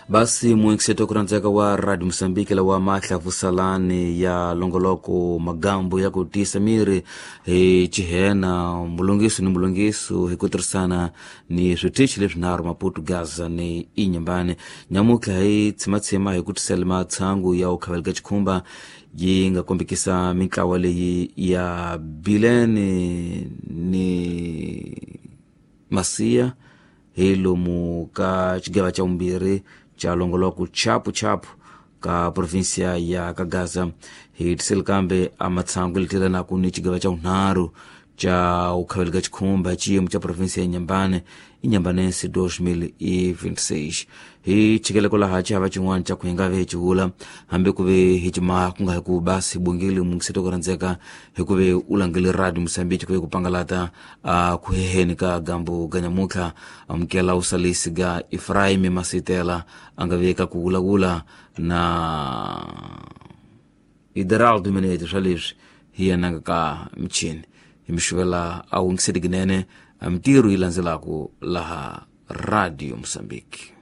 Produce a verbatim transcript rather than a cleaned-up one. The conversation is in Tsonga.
Basi muinkiseto kurandzeka wa Radio Mosambiki lawa mahlavusalani ya longoloko magambo ya ku tiyisa miri hi chihena mulungiso ni mulungiso hi ku tirhisana ni switichi leswinharhu Maputo, Gaza ni Inhambane. Nyamutlha hi tshimatshima hi ku tisela matshangu ya u khaveleka xikhumba yi nga kombekisa mintlawa leyi ya Bilene ni Masiya hi lomu ka xigava xa vumbirhi xa longoloko chapu chapu ka provinsia ya ka Gaza. Hi tiseli kambe a matshangu letielanaku ni xigava xa vunharhu xa u khaveleka xikhumba xiyimo xa provinsia ya Inhambane, Inhambanense dois mil e vinte e seis. Hi chikeleko laha xihava xin'wana xa ku hi nga ve hi xivula hambi ku ve hi ximaha ku nga hi ku basi bongile mungiseto ku rhandzeka hi ku ve u langile Radio Mosambiki ku ve ku pangalata a ku heheni ka gambu ga nyamutlha. Amukela usalisi ga Efraim Masitela a nga ve ka ku vulavula na Ideraldo Menete swa leswi hi yena ka michini hi mixivela a wungiseti kunene a mintirho yi landzelaku laha Radio Mosambiki.